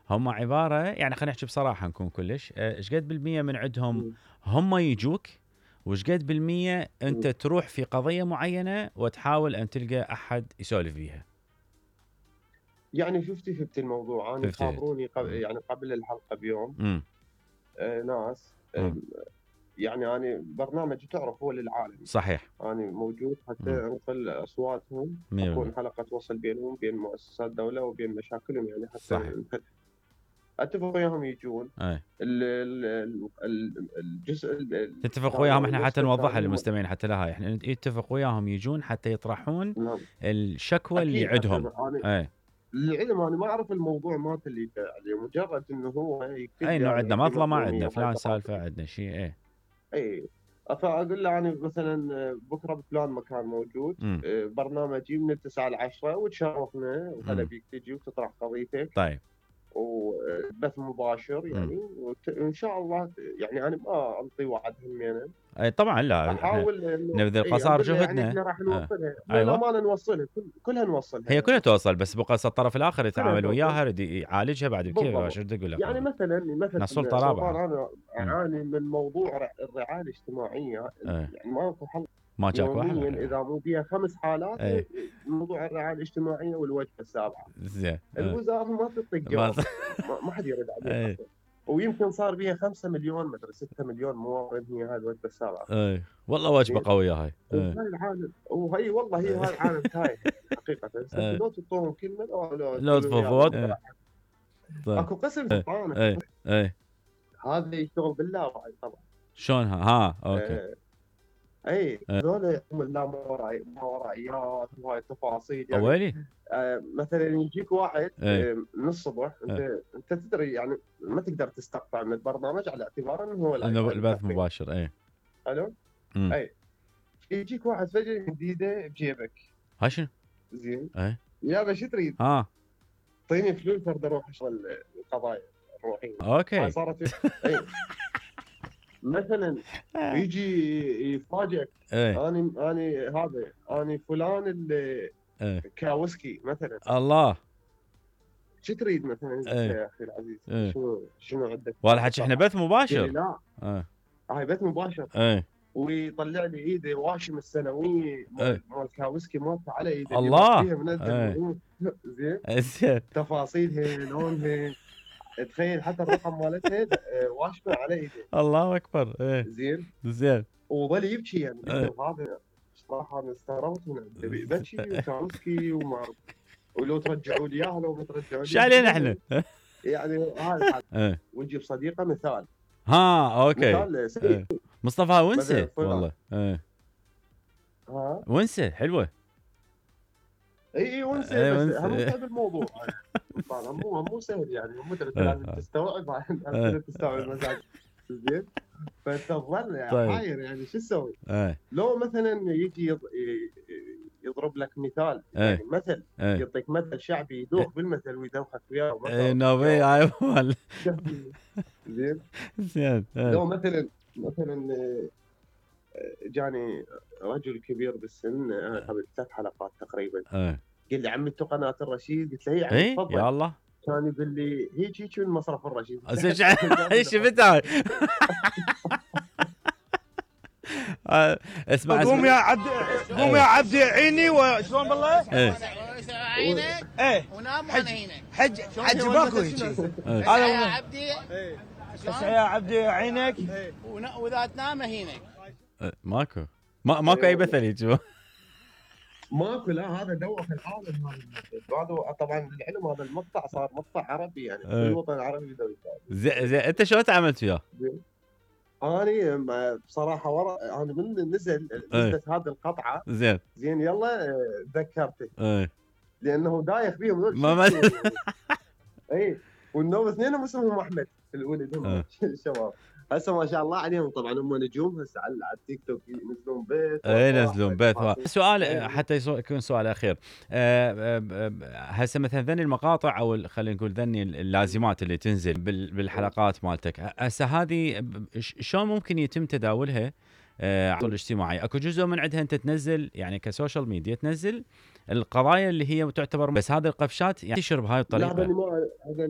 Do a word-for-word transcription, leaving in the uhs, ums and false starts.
هم عباره يعني خلينا نحكي بصراحه نكون كلش ايش قد بالمية من عندهم مم. هم يجوك، وش قد بالمية انت مم. تروح في قضيه معينه وتحاول ان تلقى احد يسولف بيها؟ يعني ففتي ففتي الموضوع. انا ففتي خابروني قبل يعني قبل الحلقه بيوم امم آه ناس آه يعني انا برنامج تعرف هو للعالم، صحيح، انا موجود حتى مم. انقل اصواتهم، مية بالمية اكون حلقه وصل بينهم بين مؤسسات دوله وبين مشاكلهم، يعني حتى صحيح، نحل. اتفق وياهم يجون. اي ال- ال- ال- الجزء ال- تتفق الثاني وياهم او احنا حتى النسبه نوضحها الثانيه هم. للمستمعين حتى لها احنا يتفق وياهم يجون حتى يطرحون نعم. الشكوى اللي اكيد حتى عندهم. انا اي للعلم انا ما اعرف الموضوع مات اللي عليه، مجرد انه هو يكتب اي لي انه انا عندنا عندي مطلع، ما مظلوميه عندنا وهاي فلان سالفه، تفاصيل. عندنا شيء. اي اي فاقول له انا مثلا بكره بفلان مكان موجود، امم برنامجي من التسعة لعشرة وتشرفنا وهلا امم بيك تجي وتطرح قضيتك طيب وبث مباشر امم يعني، وان شاء الله يعني انا ما انطي وعد همينه. اي طبعا، لا احنا احاول انه نبذل اي قصار اقول له يعني جهدنا. احنا راح آه. نوصلها ايوه، للامانه، نوصلها كل كلها نوصلها هي كلها يعني. توصل، بس بقى الطرف الاخر كلها يتعامل توصل وياها يريد يعالجها بعد كيف، بالضبط. شو بدي اقول لك يعني والله. مثلا احنا مثلا السلطه سلطان رابعه. انا امم اعاني من موضوع ر- الرعايه الاجتماعيه، ايه. يعني ماكو حل ما جاك واحد يوميا ولا؟ اذا مو بيها خمس حالات ايه موضوع الرعايه الاجتماعيه والوجبه السابعه. زين. ايه الوزاره ما تعطيك ما جواب، ما ما حد يرد عليها ايه اصلا. ويمكن صار بيها خمسة مليون مدري ستة مليون مواطن هي هاي الوجبه السابعه. ايه والله وجبه زين. قويه هاي. ايه وهاي العالم وهي والله هي هاي العالم تايه يعني حقيقه. هسه ايه لو تعطوهم كلمه لو لو لو تقول لهم يلا تفضفض. ايه بكره طيب. اكو قسم ايه سلطان، اكو ايه قسم. ايه هذا يشتغل باللاوعي طبعا. شلونها؟ ها اوكي. آه، اي ايه. هذول لا ماورائيات وهاي التفاصيل يعني. اويلي. آه مثلا يجيك واحد ايه آه من الصبح، انت ايه انت تدري يعني ما تقدر تستقطع من البرنامج على اعتبار انه هو لايف انه هاي البث متابعين. مباشر. ايه حلو. امم اي يجيك واحد فجاه جديده بجيبك. ها شنو؟ زين. ايه يابا شو تريد؟ ها اعطيني فلوس برد اروح اشغل القضايا الروحيه. هاي اوكي. صارت اي مثلا يجي يفاجئك. ايه اني اني هذا اني فلان اللي ايه كاوسكي مثلا. الله. شو تريد مثلا انت ايه يا اخي العزيز؟ ايه شنو شنو عندك؟ والله حكي احنا بث قال لي مباشر. لا ايه هاي بث مباشر. ايه ويطلع لي ايده واشم السنويه ايه مال مال كاوسكي مالته على ايده اللي مات الله. فيها منزل. ايه زين. زين. تفاصيلها لونها تخيل حتى الرقم مالتها آه، واشمه على ايده. الله اكبر. ايه زين. زين. وظل يبكي يعني ايه وهذا صراحه انا استغربت من عنده بكي وكاوسكي وما ولو ترجعوا لي اياها لو ما ترجعوا لي شو علينا احنا؟ يعني هاي الحال. ايه ويجيب صديقه مثال ها اوكي. مثال سيء. ايه مصطفى ونسه مثلا فلان. والله. ايه ها ونسه حلوه. اي اي ونسى ايه بس ونسه. هم ايه صعب الموضوع. طبعا مو مو سهل يعني، مو انت ايه لازم تستوعب ايه تستوعب المزاج. زين. فانت تظل طيب. حاير يعني شو تسوي؟ ايه لو مثلا يجي يض- ي- يضرب لك مثال ايه يعني مثل ايه يعطيك مثل شعبي يدوخ بالمثل ويدوخك وياه ايه ومثل نوبي وياه. هاي مال. زين. زين. ايه لو مثلا مثلا آه، جاني رجل كبير بالسن آه، قبل ثلاث حلقات تقريبا، ايه قال لي عمي انتو قناه الرشيد؟ قلت له اي عمي ايه تفضل. يا الله. كان يقول لي هيك هيك من مصرف الرشيد. شفت هاي. آه، اسمع قوم يا اسمع. عبد قوم يا عبدي عيني وشلون بالله؟ ايه عينك ايه ونام وانا هينك. حج حج باكو هيجي ايه هذا يا هو. عبدي بس يا عبدي عينك ون- واذا تنام هينك. إيه، ماكو ما ماكو اي مثل يجوا. ماكو لا هذا دوخ العالم هذا المثل. هذا طبعا للعلم هذا المقطع صار مقطع عربي يعني كل إيه. الوطن العربي يدور يتابع. زين زين انت شلون تعاملت وياه؟ انا م- بصراحه ورا انا من نزل نزلت هذه القطعه زين. زين يلا آه، تذكرته ايه لانه دايخ بيهم هذول ما ما شو يعني. اي والنوم اثنينهم اسمهم احمد الولد هم إيه. الشباب. هسه ما شاء الله عليهم طبعا هم نجوم هسه على على التيك توك ينزلون بيت اي وأفراح ينزلون بيت. وتفاصيل. سؤال إيه. حتى يصو- يكون سؤال اخير. آه، آه، آه، هسه مثلا ذني المقاطع او ال- خلينا نقول ذني اللازمات اللي تنزل بال- بالحلقات مالتك، هسه هذه ب- ش- شلون ممكن يتم تداولها آه، على الاجتماعي؟ اكو جزء من عندها انت تنزل يعني كسوشيال ميديا تنزل القضايا اللي هي تعتبر، بس هذه القفشات يعني تنتشر بهاي لا الطريقه. هذا ما هذا